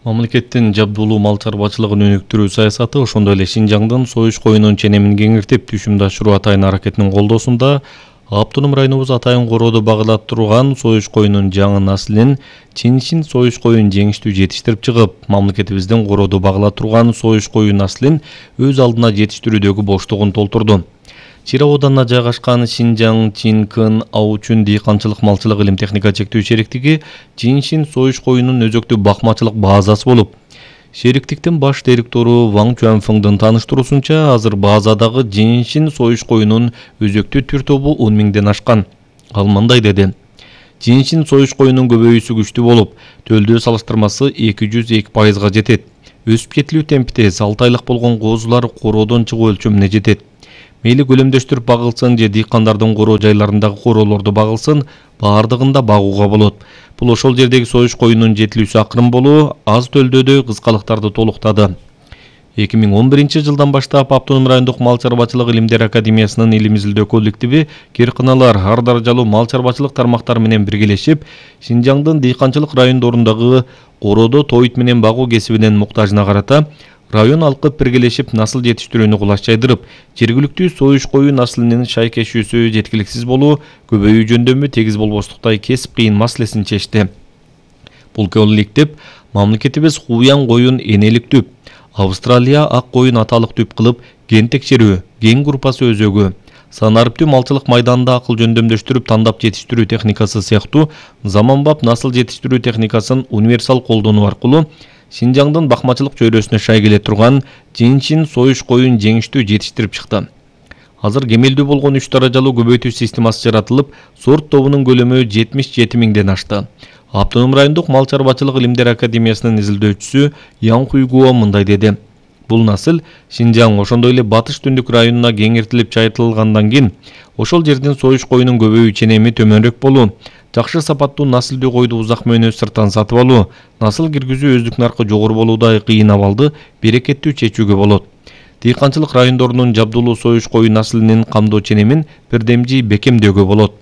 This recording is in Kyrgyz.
Мамлекеттин жабдуулуу мал чарбачылыгын өнүктүрүү саясаты, ошондой эле Шинжаңдын союз коюнун ченемин кеңиртип түшүмдү ашыруу атайын аракетинин колдоосунда автоном районубуз атайын корооду багылап турган союз коюнун жаңы наслинин Чиншин союз коюн жеңиштүү жетиштирип чыгып, мамлекетибиздин корооду багылап турган союз коюн наслин өз алдына жетиштирүүдөгү боштугун толтурду. Чира ауданына жайгашкан Шинжаң Чинкын Аучун дыйканчылык малчылык илим техника чектөө шериктиги Чиншин союз коюнунун өзөктүү бакмачылык базасы болуп, шериктиктин баш директору Ваң Чуанфыңдын тааныштыруусунча, азыр базадагы Чиншин союз коюнунун өзөктүү түр тобу 10 миңден ашкан. Ал мындай деди: Чиншин союз коюнунун көбөйүүсү күчтүү болуп, төлдөө салыштырмасы 202%га жетет. Өсүп кетилүү темпи тез, 6 айлык болгон коозулар короодон чыгуу өлчөмүнө жетет. Мейли көлөмдөштүрүп багылсын же дыйкандардын короо жайларындагы короолорду багылсын, баардыгында багууга болот. Бул ошол жердеги союз коюнунун жетилүүсү акырын болуу, аз төлдөөдө кыскалыктарды толуктады. 2011 жылдан баштап Автоном райондук мал чарбачылык илимдер академиясынын илим изилдөө коллективи киркыналар, ар даражалуу мал чарбачылык тармактары менен биргелешип, Шинжаңдын дыйканчылык райондорундагы короодо тоит менен багуу кесибинин муктажына карата район алкы биргелешип насыл жетиштирүүнү кулаш жайдырып, жергиликтүү союз коюн наслинин шайкешүүсү жеткиликсиз болуу, көбөйүү жөндөмү тегиз болбостуктай кесип кыйын маселесин чечти. Бул коллектив мамлекетибиз Хуян коюн энелик түп, Австралия ак коюн аталык түп кылып ген текшерүү, ген группасы өзөгү, санариптүү малчылык майданында акыл жөндөмдөштүрүп тандап жетиштирүү техникасы сыяктуу заманбап насыл жетиштирүү техникасын универсал колдонуу аркылуу Шинжаңдын бакмачылык чөйрөсүнө шай келе турган Чиншин союз коюн жеңиштүү жетиштирип чыкты. Азыр кемелдүү болгон 3 даражалуу көбөйтүү системасы жаратылып, сорт тобунун көлөмү 77 миңден ашты. Автоном райондук мал чарбачылык илимдер академиясынын изилдөөчүсү Ян Хуйгуо мындай деди: Бул насыл Шинжаң, ошондой эле Батыш Түндүк районуна кеңиртилип чайылтылгандан кийин ошол жердин союз коюнун көбөйүү ченеми төмөнүрөөк болуу, жакшы сапаттуу наслдүү койду узак мөөнөт сырттан сатып алуу, насыл киргизүү өздүк наркы жогору болуудай кыйын абалды берекеттүү чечүүгө болот. Дыйканчылык райондорунун жабдуулуу союз коюн наслинин камдоо ченемин бирдемжи бекемдөөгө болот.